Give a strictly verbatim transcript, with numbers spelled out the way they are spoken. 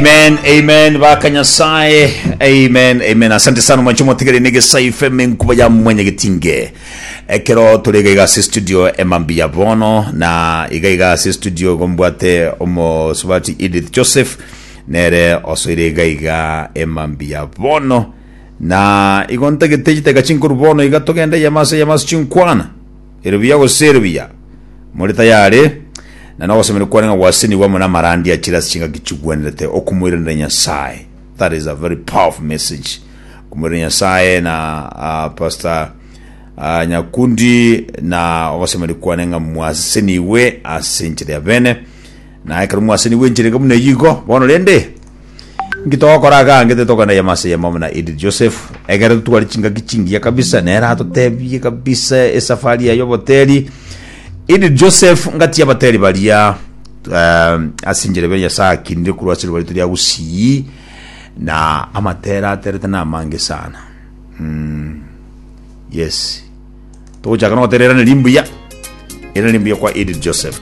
Amen, amen, baka Nyasaye. Amen, amen. Asante sana mwancho motigere nige saife menkuba ya mwenye getinge. Ekero tore iga iga ase studio emambi ya bono na iga iga ase studio gombwate omosubati Edith Joseph nere osoire iga iga emambi ya bono na igo ntagete chiteka chinkoru bono iga togende yamase yamase chinkwana ere buya gose ere buya muri tayari na nogosemera kwane ng'a gwasenigwa amo namarandi achire ase chingaki chigwenerete okomoiranera Nyasaye. That is a very powerful message, okomoiranera Nyasaye. Na uh, Pastor uh, Nyakundi, na ogosemera kwane ng'a mwaseniwe ase enchera ya bene, na ekero mwaseniwe enchera iga buna eyio igo bono rende nki togokora iga angete tokogenda yamase yamo na Edith Joseph ekero totware chingaki chingiya kabisa nere atotebie kabisa esafari yaye oboteri. Edith Joseph ngati abateri baria um, ase enchera ebe Nyasaye akinire korwa ase ribaga rito ria Gusii na amatera aterete na amange sana mm, yes, togochaka nogotera Erane Rimbuya, Erane Rimbuya kwa Edith Joseph.